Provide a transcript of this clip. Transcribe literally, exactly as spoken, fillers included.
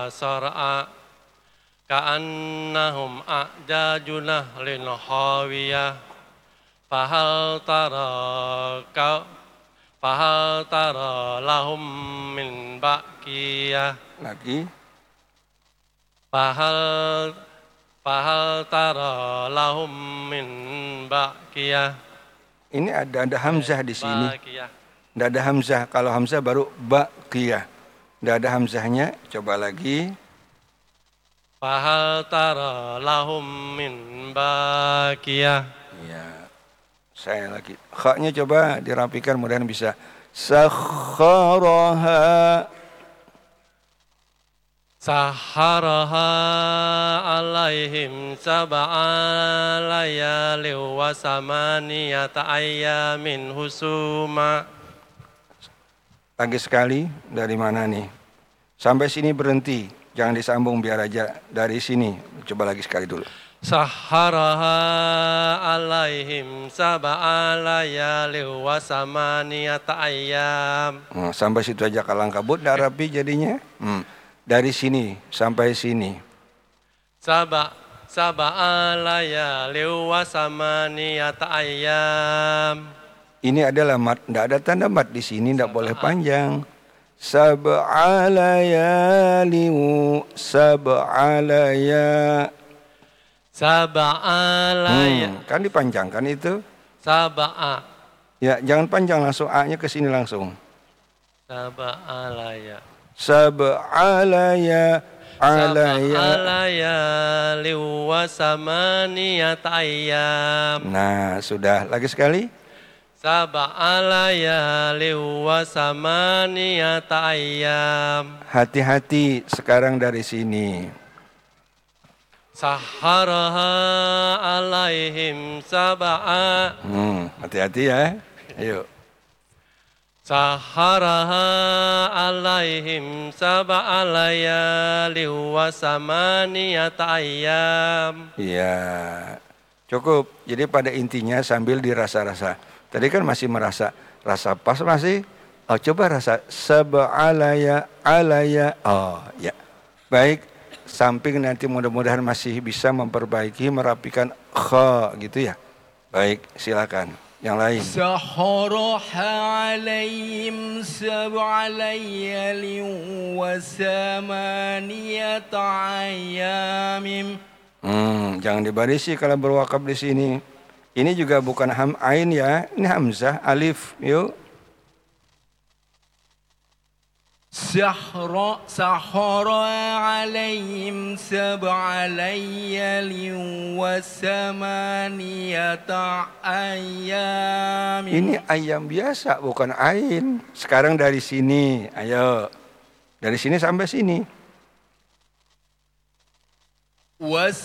صرعا كأنهم أعجاز نخل خاوية فهل ترى ك- فهل ترى لهم من باقية Lagi. فهل فهل ترى لهم من باقية Ini ada ada hamzah di sini. باقية Tidak ada hamzah. Kalau hamzah baru baqiyah. Tidak ada hamzahnya. Coba lagi. فهل ترى لهم من باقية Ya. Saya lagi. Khanya coba dirapikan, mudahan bisa. Sakharaha. سخرها عليهم سبع ليال وثمانية أيام حسوما Lagi sekali, dari mana nih? Sampai sini berhenti. Jangan disambung, biar aja dari sini. Coba lagi sekali dulu. سخرها عليهم سبع ليال وثمانية أيام Nah, sampai situ aja, kalang kabut, tidak rapi jadinya. Hmm. Dari sini sampai sini. سبع سبع ليال وثمانية أيام Ini adalah mat, tidak ada tanda mat di sini, tidak boleh panjang. Sab'a layali, sab'a laya. سبع ليال Hmm, kan dipanjangkan itu. سبع Ya, jangan panjang langsung, A-nya ke sini langsung. سبع ليال Sab'a laya, سبع alaya. ليال وثمانية أيام Nah, sudah. Lagi sekali. سبع ليال وثمانية أيام Hati-hati sekarang dari sini. سخرها عليهم سبع Hmm, hati-hati ya. Ayo. سخرها عليهم سبع ليال وثمانية أيام Iya. Cukup. Jadi pada intinya sambil dirasa-rasa. Tadi kan masih merasa, rasa pas masih. Oh, coba rasa sab'a laya, alaya. Oh, ya. Baik, samping nanti mudah-mudahan masih bisa memperbaiki, merapikan kha gitu ya. Baik, silakan. Yang lain. سخرها عليهم سبع ليال وثمانية أيام Hmm, jangan dibarisi kalau berwakaf di sini. Ini juga bukan ham ain ya, ini hamzah alif. Yuk. سخر سخر عليهم سبع ليال وثمانية أيام Ini ayam biasa, bukan ain. Sekarang dari sini, ayo. Dari sini sampai sini. وس